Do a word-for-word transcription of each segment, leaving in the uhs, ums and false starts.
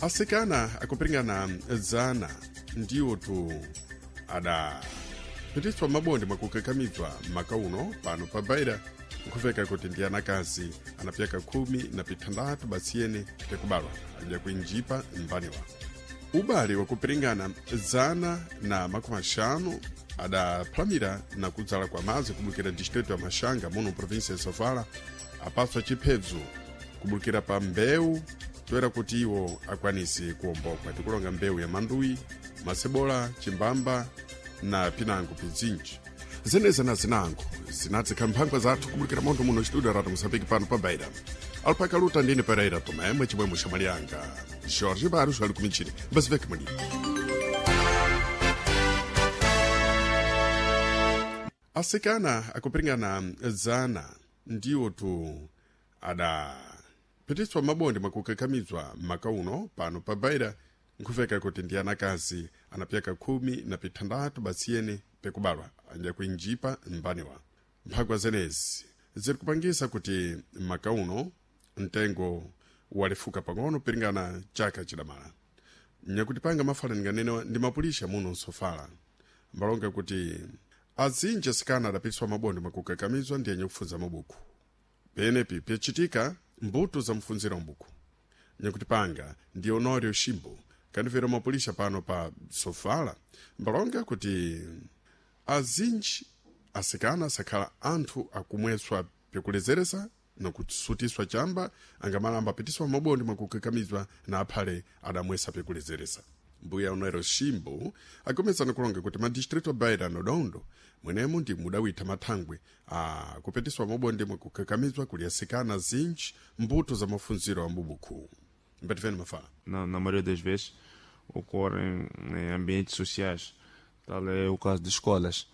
Asikana akupiringana zana ndiwo tu adapitiswa mabonde mwakukakamizwa maka uno pano pa Beira, nkhuveka kuti ndi anakazi anapyaka khumi na pithandatu basiyene pyakubalwa adya kuinjipa mbaniwa. Ubale wakupiringana zana na makumi axanu adaphalamira na kudzala kwa madzi kubukira distrito ya Maxanga muno província ya Sofala apaswa chiphedzo kubukira pa mbewu toera kuti iwo akwanise kuwombokwa. Tikulonga mbewu ya manduyi, masebola, chimbamba na pinango pizinji. Zeneza na zinango zinadzikha mphangwa zathu kubukira montho muno studio Radio Moçambique pano pa Beira. Alpaka luta ndine Pereira Tomé, mwechimwemwe xamalianga Jorge Barros ali kumichini mbaziveke mwini. Asikana akupiringana zana ndiwo tu adapitiswa mabonde mwakukakamizwa maka uno pano pa Beira, nkhuveka kuti ndi anakazi anapyaka khumi na pithandatu basiyene pekubalwa adya kuinjipa mbaniwa. Mphangwa zenezi ziri kupangisa kuti maka uno mtengo walefuka pang'ono piringana chaka chidamala. Nyakuti panga mafala ninganenewa ndi mapulisha muno nsofala mbalonga kuti azinji asikana adapitiswa mabonde mwakukakamizwa ndi yenye kufunza mabuku penepi pyacitika mbuto za mfunzira mbuku. Nyakuti panga ndi Honório Shimbo kandivera mapulisha pano pa Sofala mbalonga kuti azinji asikana sakhala anthu akumweswa pyakulezeresa nakusutiswa chamba angamalamba apitiswa mabonde mwakukakamizwa na aphale adamwesa pyakulezeresa. Mbuya Honório Shimbo agomezana kulonga kuti madistrito a Beira na Dondo mwenemo ndi mudawitha mathangwe a kupitiswa mabonde mwakukakamizwa kuli asikana zinji mbuto za mafunziro a mbubuku. Mbatifeni mafala. Na, na maioria das vezes ocorrem em ambientes sociais, tal é o caso de escolas,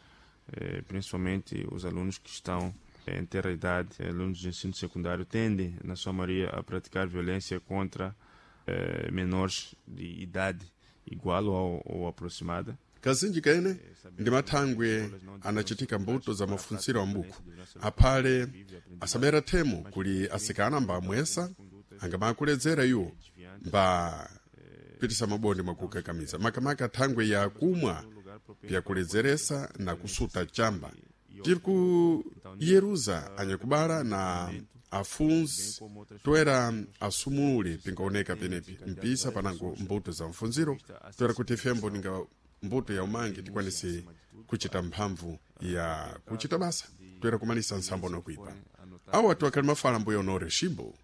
eh, principalmente os alunos que estão em terra idade, alunos de ensino secundário, tendem, na sua maioria, a praticar violência contra eh, menores de idade igual ou, ou aproximada. Kazinji kene ndi mathangwe anachitika mbuto za mafunziro a mbuku aphale asabera themu kuli asikana mba amwesa angamakuledzera iwo mba pitisa mabonde mwakukakamiza makamaka thangwe ya kumwa pyakuledzeresa na kusuta chamba. Tiri kuyeruza anyakubala na afunzi toera asumulule pingaoneka penepi mpisa panango mbuto za mfunziro toera kuti fembo ninga mbuto ya umangi tikwanise kuchita mphamvu ya kuchita basa toera kumalisa nsambo nokuipa. Awo atu akhali mafala mbuya Honório Shimbo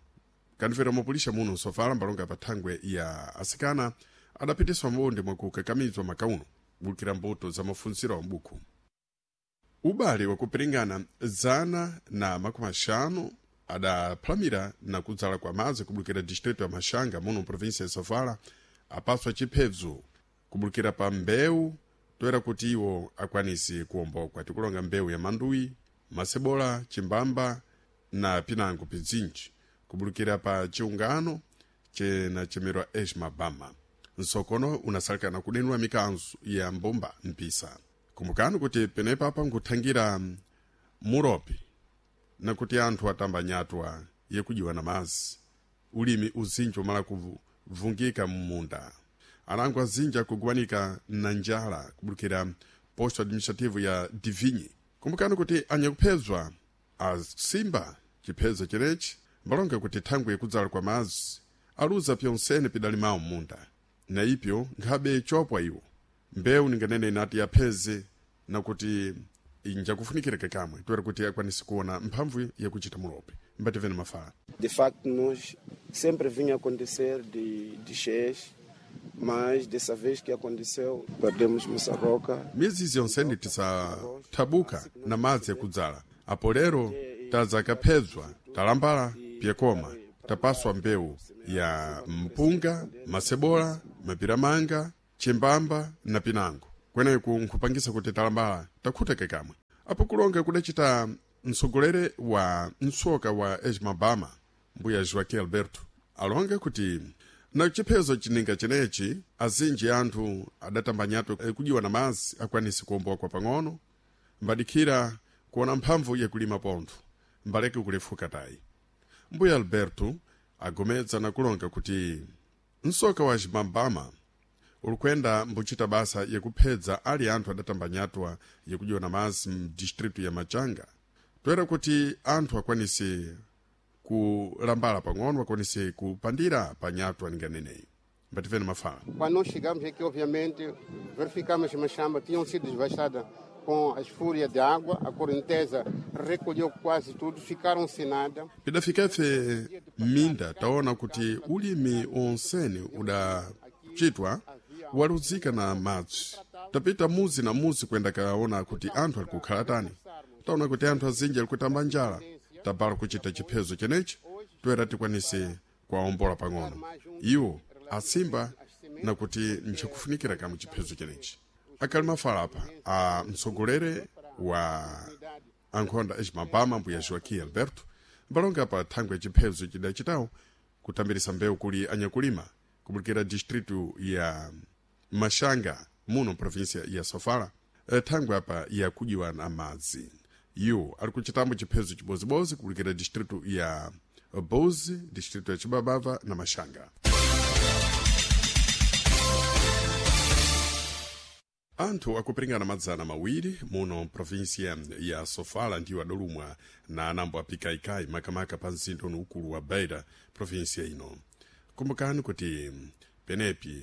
kandifera mapulisha muno nsofala mbalonga pa thangwe ya asikana adapitiswa mabonde mwakukakamizwa makauno kubukira mbuto za mafunziro a mbuku. Ubale wakupiringana zana na makumi axanu adaphalamira na kudzala kwa madzi kubukira distrito ya Maxanga muno província ya Sofala apaswa chiphedzo kubukira pa mbewu toera kuti iwo akwanise kuwombokwa. Tikulonga mbewu ya manduyi, masebola, chimbamba na pinango pizinji kubulukira pa chiungano chenachemerwa Esmabama. Nsokono unasalikana kudenula mikanzo ya mbumba mpisa. Kumbukani kuti penepa apa nkuthangira muropi nakuti anthu atamba nyatwa yekujiwa na mazi ulimi uzinji umala kuvungika mmunda. Anango azinji akuguwanika na njala kubulukira posto administrativo ya Divinyi. Kumbukani kuti anyakuphezwa asimba chiphezo chenechi mbalonga kuti thangwe yekudzala kwa madzi aluza pyonsene pidalimawo mmunda na ipyo nkhabe chopwa iwo mbewu ninganene inati yapheze nakuti injakufunikireka kamwe toera kuti akwanise kuona mphamvu yakuchita mulope. Mbativeni mafala. De facto, nós sempre vinha acontecer de, de cheias, mas dessa vez que aconteceu, perdemos Moçarroca. Miyezi yonsene tisathabuka na madzi yakudzala apo lero tadzakaphedzwa talambala pyekoma tapaswa mbewu ya mpunga, masebola, mapiramanga, chimbamba na pinango. Kweneku nkhupangisa kuti talambala takhuteke kamwe. Apo kulonga kudacita mtsogolere wa mtsoka wa Esmabama mbuya Joaquim Alberto alonga kuti na chiphezo chininga chenechi azinji anthu adatamba nyatwa kujiwa na madzi akwanise kuwombokwa pang'ono mbadikhira kuona mphamvu yakulima pontho mbaleke kulefuka tayi. Mbuya Alberto agomedza na kulonga kuti Msoka wa Chimambama ulikwenda mbuchita basa yekuphedza ali anthu adatamba nyatwa yekudyona mazi mdistritu ya Machanga toera kuti anthu akwanise kulambala pang'ono akwanise kupandira pa nyatwa ninganeneyi. Mbativeni mafala. Quando nós chegamos aqui, obviamente, verificamos que as machambas tinham sido devastadas com as fúrias de água, a correnteza recolheu quase tudo, ficaram sem nada. Pidafika ife minda taona kuti ulimi onsene udachitwa waluzika na madzi. Tapita muzi na muzi kwenda kaona kuti anthu ali kukhala tani. Taona kuti anthu azinji ali kutamba njala. Tabala kuchita chiphezo chenechi toera tikwanise kuwaombola pang'ono. Iwo asimba na kuti nchakufunikira kamwe chiphezo chenechi. Akali mafala apa a mtsogolere wa ankhonda ecimabama mbuya Joaquim Alberto mbalonga pa thangwe ya chiphezo chidachitawo kutambirisa mbewu kuli anyakulima kubulikira distritu ya Machanga muno província ya Sofala thangwe apa yakudywa na madzi. Iwo ali kuchitambo chiphezo chibozibozi kubulikira distritu ya Bozi, distritu ya Chibabava na Machanga. Anthu akupiringana madzana mawiri muno província ya Sofala ndiwo adolumwa na anambo apikaikai makamaka pa mzinda uno ukulu wa Beira, província ino. Kumbukani kuti penepi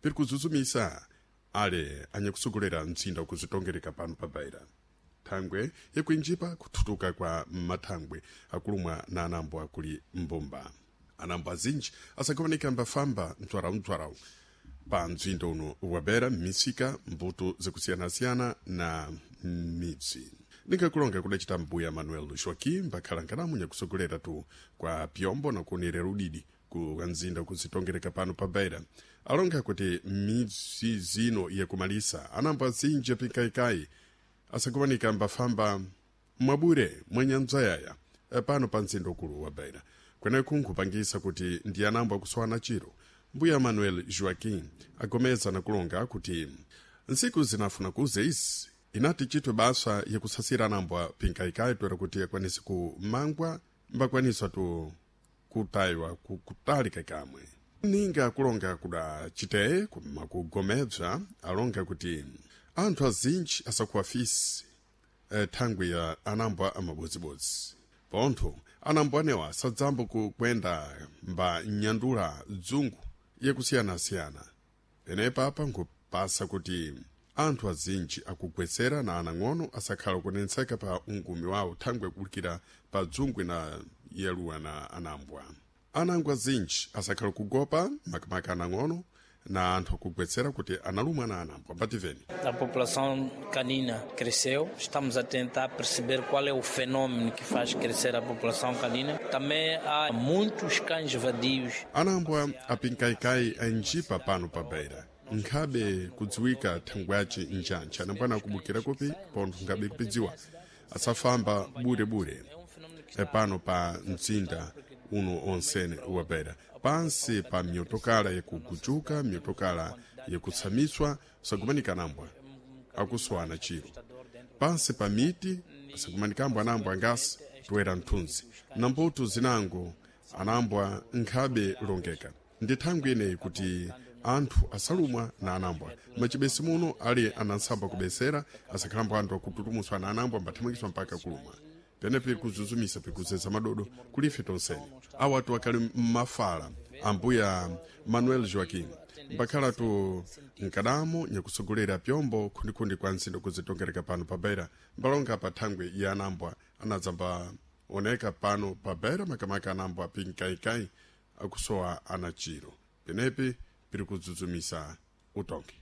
piri kuzuzumisa ale anyakusogolera mzinda ukuzitongereka pano pa Beira. Thangwe yakuinjipa kuthutuka kwa mathangwe akulumwa na anambo akuli mbumba. Anambo azinji asakuoneka mbafamba mtswarau-mtswarau pa mzinda uno wa Beira, m'misika, mbuto zakusiyanasiyana na midzi. Ningakulonga kudacita mbuya Manuel Joaquim mbakhala nkanamu nyakusogolera tu kwa pyombo na kuonerera udidi ku mzinda kuzitongereka pano pa Beira. Alonga kuti midzi zino yakumalisa anambo azinji apikaikai asakumanika mbafamba mwabure mwanyanzayaya pano pa mzinda ukulu wa Beira. Kweneku nkhupangisa kuti ndi anambo akuswana chiro. Mbuya Manuel Joaquim agomeza na kulonga kuti ntsiku zinafuna kuze izi inati chitwe basa yakusasira anambo pinkaikai toera kuti akwanise kumangwa mbakwanisa tu kutayiwa kutalika kamwe. Ninga kulonga kuda chiteye makugomedza alonga kuti anthu azinji asakuwa fisi eh, thangwi ya anambo amabodzibodzi. Pontho anambo anewa sadzambo kukwenda mba nyandula dzungu yakusiyanasiyana. Penepa apa nkupasa kuti anthu azinji akugwetsera na anang'ono asakhala kunetseka pa ungumi wawo thangwi yakubulikira pa dzungwi na yeluwa na anambwa. Anangwa azinji asakhala kugopa makamaka anang'ono na anthu akugwetsera kuti analumwa na anambwa. Mbativeni. A população canina cresceu, estamos a tentar perceber qual é o fenômeno que faz crescer a população canina. Também há muitos cães vadios. Anambwa apinkaikai anjipa pano pa Beira. Nkhabe kudziwika thangwaci njantcha anambwana akubukira kupi pontho nkhabe kupidziwa asafamba burebure pano pa mzinda uno onsene wa Beira. Pansi pa myotokala yakugujuka, myotokala yakutsamiswa sakumanika anambwa akuswana chiro. Pansi pa miti sakumanikambwa anambwa angasi toera mthunzi. Na mbuto zinango anambwa nkhabe longeka. Ndi thangwi ineyi kuti anthu asalumwa na anambwa. Machibesi muno ali anansamba kubesera asakhalambo anthu akututumutswa na anambwa mbathamangitswa mpaka kulumwa. Penepi kuzuzumisa pikuzeza madodo kulife tonsene. Awa atu akali mmafala ambuya Manuel Joaquim mbakhala tu nkadamo nyakusogolera pyombo khundikhundi kwa ntsindo kuzitongereka pano pa Beira. Mbalonga pa thangwi ya anambwa anadzamba oneka pano pa Beira makamaka anambwa pinkaikai akusowa anachiro. Penepi piri kudzuzumisa utongi.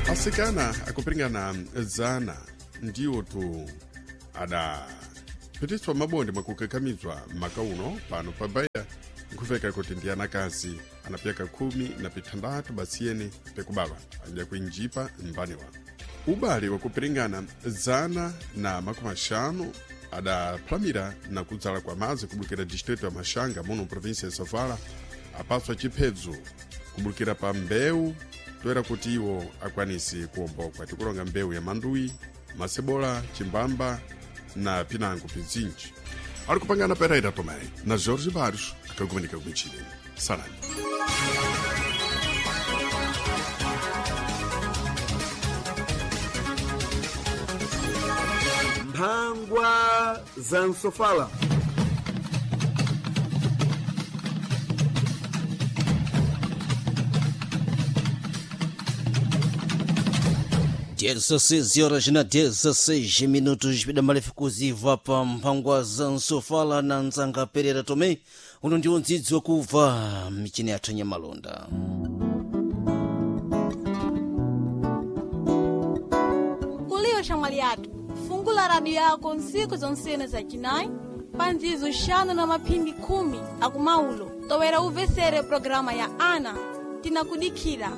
Asikana akupiringana zana ndiwo tu adaphitiswa mabonde mwakukakamizwa maka uno pano pa Beira nkhuveka kuti ndi anakazi anapyaka khumi na pithandatu basiyeni pekubalwa adya kuinjipa mbaniwa. Ubale wakupiringana zana na makumi axanu adaphalamira na kudzala kwa madzi kubukira distrito ya Machanga muno província ya Sofala apaswa chiphedzo kubukira pa mbewu toera kuti iwo akwanise kuwombokwa. Tikulonga mbewu ya manduyi, masebola, chimbamba na pinango pizinji. Ali kupangana Pereira Tomé na Jorge Barros akakumanika kumichini. Salani. Mphangwa za msofala. dezesseis horas na dezesseis minutos pidamalefu kuziva pa mphangwa za nsofala na nzanga Pereira Tomé. Uno ndiwo ndzidzi wakuva michini yathu nyamalonda. Kuliyo shamwali yathu, fungula radio yako ntsiku zonsene za chinayi pa ndzizo xanu na maphindi khumi akumaulo towera umvesere programa ya ana. Tinakudikhira.